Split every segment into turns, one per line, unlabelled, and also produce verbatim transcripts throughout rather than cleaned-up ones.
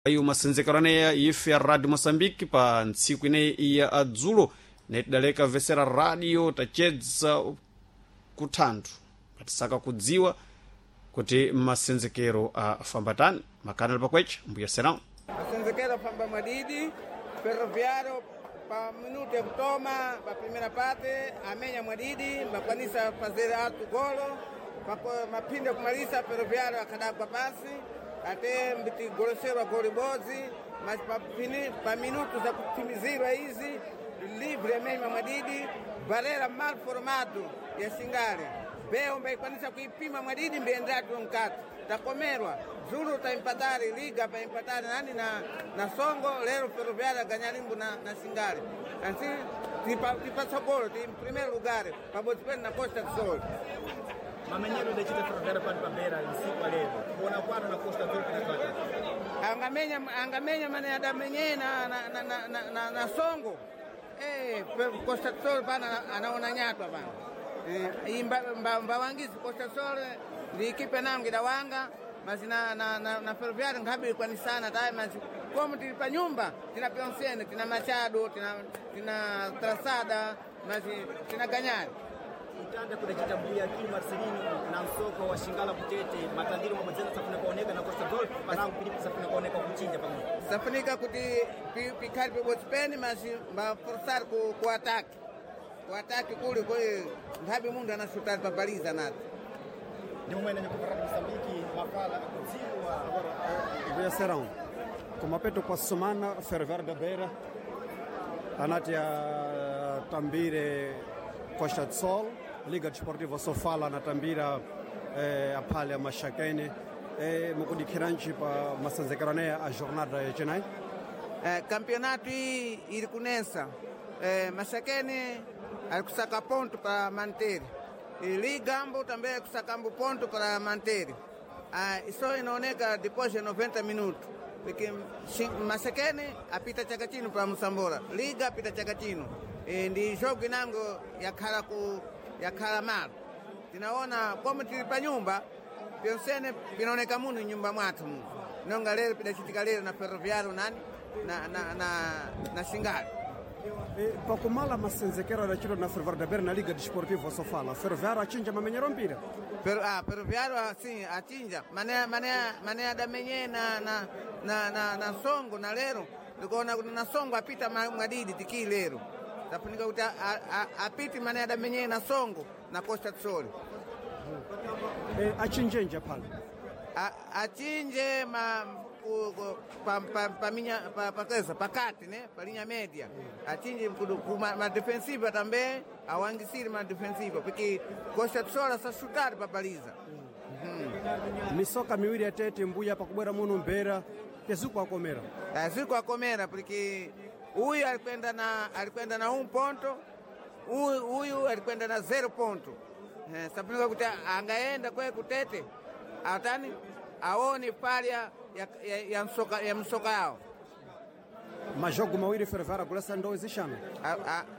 Ayo masenzekerano ife ya Radio Moçambique pa ntsiku ineyi ya adzulo netidaleka vesera radio tachedza kuthandu patisaka kudziwa kuti masenzekero afambatani makana ali pakwecha mbuya serão.
Masenzekero afamba mwadidi Ferroviário pa minuto ya kutoma pa primeira parte amenya mwadidi mbakwanisa fazer alto golo pako maphindu ya kumalisa Ferroviário akadagwa pasi ate mbitigoloserwa goli bodzi mas pa, fini- pa minuto za kutimizirwa izi livre amenya mwadidi barera mal formado ya Singale beo mbaikwanisa kuipima mwadidi mbiendatu mkati takomerwa zulu taimpatari liga paimpatari nani na, na songo lero Ferroviário ganyalimbu na, na Singale ansi tipa, tipatsogolo ti primeiro lugar pabodzi pene na Costa do Sol.
Mamenyero idachita Ferroviário pano pabera msiku alero kuona kwano na Costa do Sol kunakata
angamenya angamenya mane adamenye na, na, na, na, na, na, na songo eh, pe- Costa do Sol pana anaona nyatwa pana eh, iyi mba- mba- mbawangizi Costa do Sol ndi ikipe nangu idawanga mas na, na, na, na Ferroviário nkhabe ikwanisana tayi mas como tili pa nyumba tina Pioncene tina Machado tina, tina Traçada mas tina Ganyari.
Kutanda kudachita mbuya Kini Marcelino na msoko wa Shingala kutete matandiro mabwedzana safuna kuoneka na Costa do Sol panangu pilipo safuna kuoneka kuchinja pamwe
Safunika kuti pi- pikhali pibodzi pene mas mbaforsar ku, ku ataki ku ataki kuli koi nthawi munthu anasutali pabaliza nati.
Ndi momwene nyakupara Mozambique mafala akudziwa
Mbuya serão kumapeto kwa semana Ferroviário da Beira anati atambire Costa do Sol, Liga Desportiva Sofala anatambira eh, aphale a Maxaquene eh, mukudikhiranji pa masenzekero aneya a jornada yacinayi.
Eh, campeonato iyi iri kunesa eh, Maxaquene ali kusaka ponto para manter e Ligambo também ali kusakambo ponto para manter. Ah, isso inaoneka depois de noventa minutos porque Xi- Maxaquene apita chaka chino para Moçambola, Liga apita chaka chino e, ndi jogo inango yakhala ku yakhala malo tinaona como tili pa nyumba pyonsene pinaoneka muno nyumba mwathu muno nonga lero pidachitika lero na Ferroviário nani na, na, na, na Singale.
Eh, pakumala masenzekero adachitwa na Ferroviário da Beira na Liga Desportiva Sofala, Ferroviário achinja mamenyero mpira.
Pero, ah, Ferroviário assim achinja mané mané mané adamenye na na na na, na songo na lero ndikuona kuti na songo apita ma- mwadidi tikii lero tafunika kuti a- a- a- apite mané adamenye na songo na Costa do Sol.
Eh, achinjenje aphale
A- achinje ma ku, ku, pa, pa, pa, minya, pa, pa, kesa, pakati ne pa linha média achinje kudu- ku ma, ma defensiva também awangisire ma defensiva porque Costa do Sol asasutari pa baliza.
Misoka miwiri yatete mbuya pakubwera muno mbera tezuku akomera.
Aziko akomera porque uyu alikwenda na alikwenda na um ponto uyu, uyu alikwenda na zero ponto eh, safunika kuti angaenda kwe kutete atani aone falha ya, ya, ya, msoka, ya msoka yao.
Majogo mawiri Ferroviário agulasa ndowe zixanu.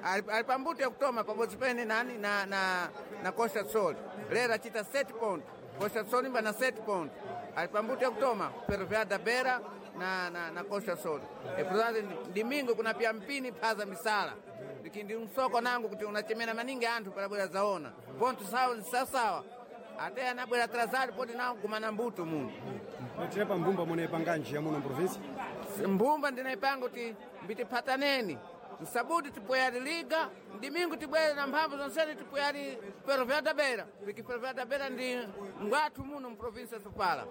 Ali pambuto ya kutoma pabodzi pene nani na, na, na Costa do Sol lero achita sete ponto Costa do Sol imba na sete ponto ali pambuto ya kutoma Ferroviário da Beira na, na, na Costa do Sol e portanto domingo kuna pia mpini phaza misala iki ndi msoko nangu kuti unachemera maningi anthu parabwera zaona ponto sawa sawasawa ate anabwera atrasado poti nawo kumana mbuto muno.
Tire pa mbumba munepanganji ya muno mprovinsi.
Mbumba ndinaipanga kuti mbitiphataneni msabuti tipweyali liga ndimingu tibwere na mphamvu zonsene tipweyali Ferroviário da Beira porque Ferroviário da Beira ndi ngwathu muno mprovinsia ya Sofala.